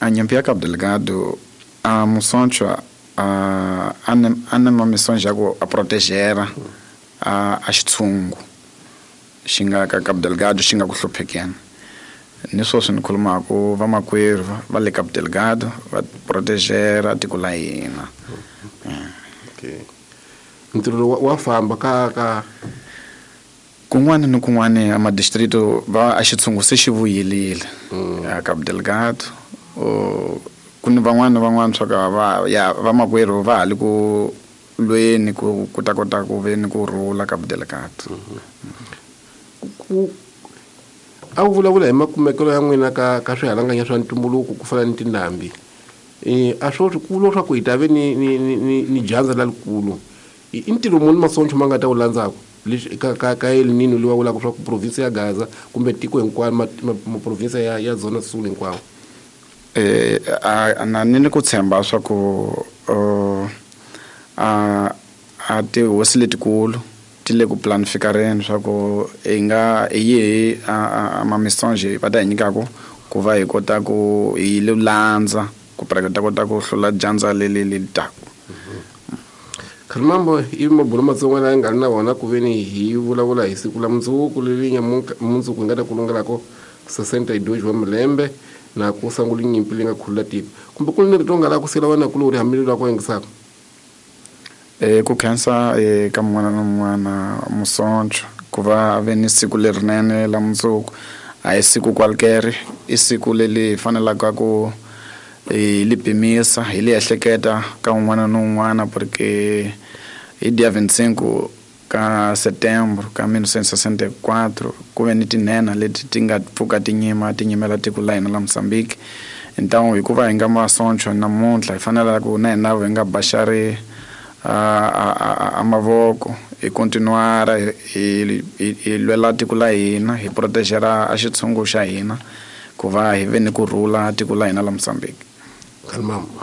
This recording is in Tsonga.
A nyimpi ya Cabo Delgado a musonchwa a a ni ma misonja ya ku a protegera a xitshungu xi nga ka Cabo Delgado xi nga ku hluphekeni. Ni sweswi ni khulumaku vamakwerhu va le Cabo Delgado va protegera tiko la hina. Okay. Ntirho lowu wa famba ka kun'wana ni kun'wana a madistrito va a xitshungu se xi vuyelile a Cabo Delgado. Ku ni van'wana ni van'wana swa ka va ya vamakwerhu va ha le ku lweni ku ta kota ku ve ni ku rhula Cabo Delgado. Ku a wu vulavula hi makumekelo ya n'wina ka swihalanganya swa ntumbuluko ku fana ni tindhambi. A swo swi kulu swa ku hi ta ve ni dyandza lalikulu. I ntirho muni masoncho ma nga ta wu landzaku leswi ka El Nino leyi va vulaka swa ku province ya Gaza kumbe tiko hinkwaro ma province ya Zona Sul hinkwawo? A na ni ku tshemba swa ku a tihosi letikulu ti le ku planifikareni swa ku hi nga hi yihi a mamisonge va ta hi nyikaku ku va hi kota ku hi landza ku ta kota ku hlula dyandza leri taka. Khalimambo i mabulo matsongo lawa nga ri na wona ku veni hi vulavula hi siku la mundzuku leri mundzuku hi nga ta kulungelako 62 wa malembe na ku sungula nyimpi leyi nga khulula tiko. Kumbe ku ni rito nga lava ku siyela wena kulorhi hambileswi la ku yingisaka? Ku khensa ka mun'wana na mun'wana musoncho ku va ve ni siku lerinene la mundzuku. A hi siku kwalekere, i siku leri hi fanelaka ku hi li pimisa, hi li ehleketa ka un'wana na un'wana, porque hi dia 25 ka setembro ka 1964 ku ve ni tinhenha leti ti nga pfuka ti nyima ti nyimela tiko la hina la Mozambique. Então hikuva hi nga masoncho namuntlha hi fanele ku na hina hi nga baxari a mavoko, hi continuara hi lwela tiko la hina, hi protegera a xitshungu xa hina ku va hi ve ni ku rhula tiko la hina la Mozambique. Khalimambo.